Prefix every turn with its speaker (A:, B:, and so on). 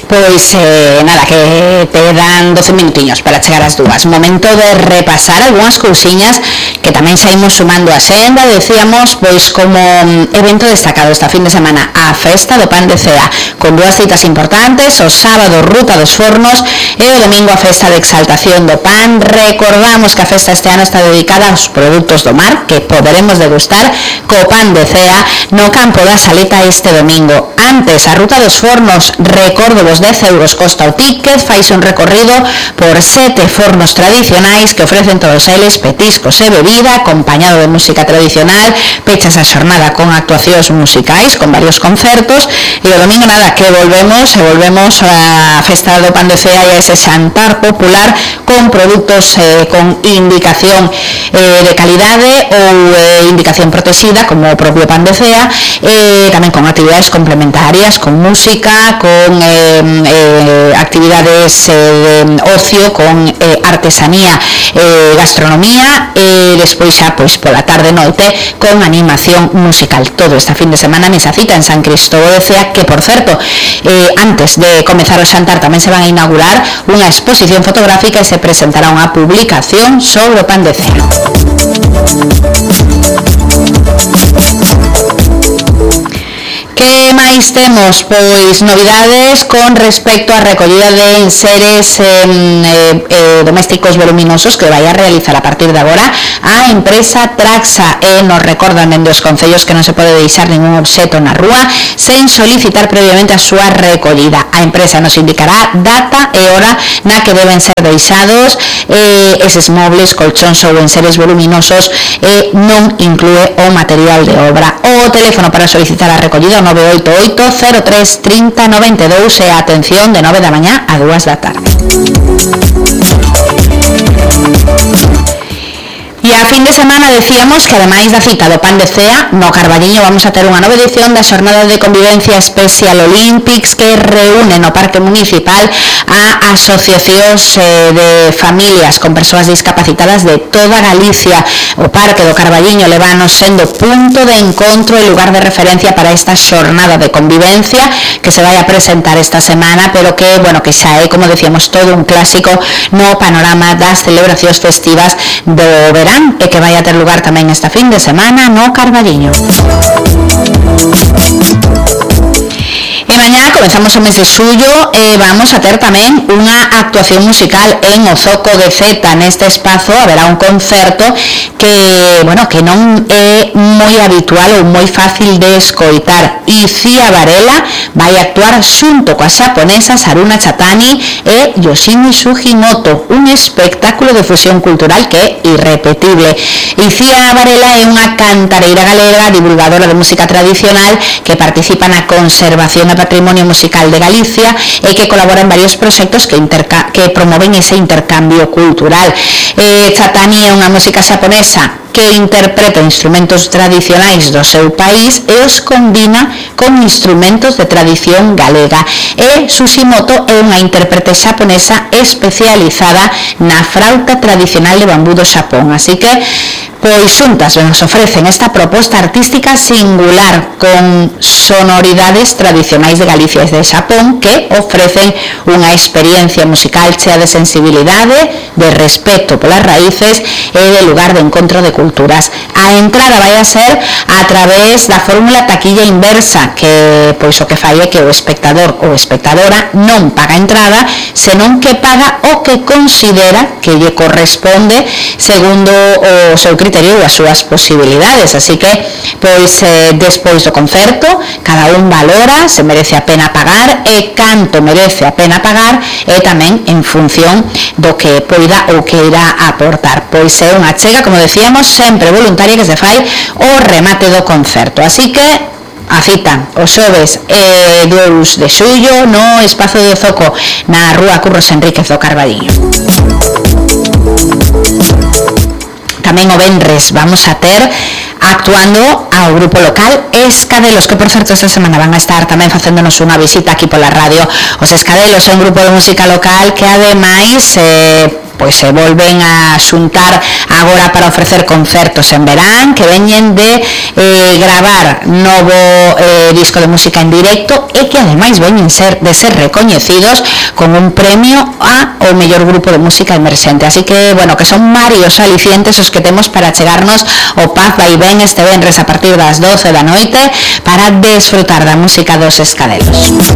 A: Pois nada, que te dan 12 minutiños para chegar ás 2. Momento de repasar algunhas cousiñas que tamén saímos sumando a senda. Decíamos, pois como evento destacado esta fin de semana, a festa do pan de cea, con dúas citas importantes: o sábado Ruta dos Fornos e o domingo a festa de exaltación do pan. Recordamos que a festa este ano está dedicada aos produtos do mar, que poderemos degustar co pan de cea no campo da Saleta este domingo. Antes, a Ruta dos Fornos, recordo vos 10 euros costa o ticket, faise un recorrido por 7 fornos tradicionais que ofrecen todos eles petiscos e bebida, acompañado de música tradicional. Pechas a xornada con actuacións musicais, con varios concertos, e o domingo nada, que volvemos a festa do pan de cea e a ese xantar popular con produtos con indicación de calidade ou indicación protexida, como o propio pan de cea, tamén con actividades complementarias, con música, con actividades de ocio, con artesanía, gastronomía, e despois xa pois pola tarde noite con animación musical. Todo esta fin de semana nesa cita en San Cristóbal de Cea, que por certo, antes de comezar o xantar tamén se van a inaugurar unha exposición fotográfica e se presentará unha publicación sobre o pan de cea. Que máis temos? Pois novidades con respecto á recollida de enseres domésticos voluminosos que vai a realizar a partir de agora a empresa Traxa, e nos recordan dende os concellos que non se pode deixar ningún obxeto na rúa sen solicitar previamente a súa recollida. A empresa nos indicará data e hora na que deben ser deixados eses mobles, colchóns ou enseres voluminosos, e non inclúe o material de obra. O teléfono para solicitar a recollida 988 03 30 92 e a atención de 9 da mañá a 2 da tarde. E a fin de semana decíamos que ademais da cita do pan de cea, no Carballiño vamos a ter unha nova edición da xornada de convivencia Special Olympics, que reúne no Parque Municipal a asociacións de familias con persoas discapacitadas de toda Galicia. O Parque do Carballiño levanos sendo punto de encontro e lugar de referencia para esta xornada de convivencia que se vai a presentar esta semana, pero que, bueno, que xa é, como decíamos, todo un clásico no panorama das celebracións festivas do verán, e que vai a ter lugar tamén esta fin de semana no Carballiño. E mañá comezamos o mes de xullo e vamos a ter tamén unha actuación musical en o Zoco de Zeta. Neste espazo haberá un concerto que, bueno, que non é moi habitual ou moi fácil de escoitar. Icía Varela vai actuar xunto coa xaponesa Saruna Chatani e Yoshimi Sugimoto, un espectáculo de fusión cultural que é irrepetible. Icía Varela é unha cantareira galega, divulgadora de música tradicional, que participa na conservación e patrimonio musical de Galicia e que colabora en varios proxectos que promoven ese intercambio cultural. Chatani é unha música xaponesa que interpreta instrumentos tradicionais do seu país e os combina con instrumentos de tradición galega. E Sugimoto é unha intérprete xaponesa especializada na frauta tradicional de bambú do Xapón. Así que, pois xuntas nos ofrecen esta proposta artística singular con sonoridades tradicionais de Galicia e de Xapón, que ofrecen unha experiencia musical chea de sensibilidade, de respeto polas raíces e de lugar de encontro de culturas. A entrada vai a ser a través da fórmula taquilla inversa, que pois o que fai é que o espectador ou espectadora non paga entrada, senón que paga o que considera que lle corresponde segundo o seu criterio e as súas posibilidades. Así que, pois, despois do concerto, cada un valora se merece a pena pagar e canto merece a pena pagar, e tamén en función do que poida ou que irá aportar. Pois é unha achega, como decíamos, sempre voluntaria, que se fai o remate do concerto. Así que a cita o xoves 2 de xullo no espazo do Zoco, na rúa Curros Enríquez do Carballiño. Tamén o venres vamos a ter actuando ao grupo local Escadelos, que por certo esta semana van a estar tamén facéndonos unha visita aquí pola radio. Os Escadelos é un grupo de música local que ademais pois se volven a xuntar agora para ofrecer concertos en verán, que veñen de gravar novo disco de música en directo e que ademais veñen de ser recoñecidos con un premio ao mellor grupo de música emerxente. Así que, bueno, que son varios alicientes os que temos para chegarnos ao Paz Vai Ben este venres a partir das 12 da noite para desfrutar da música dos Escadelos.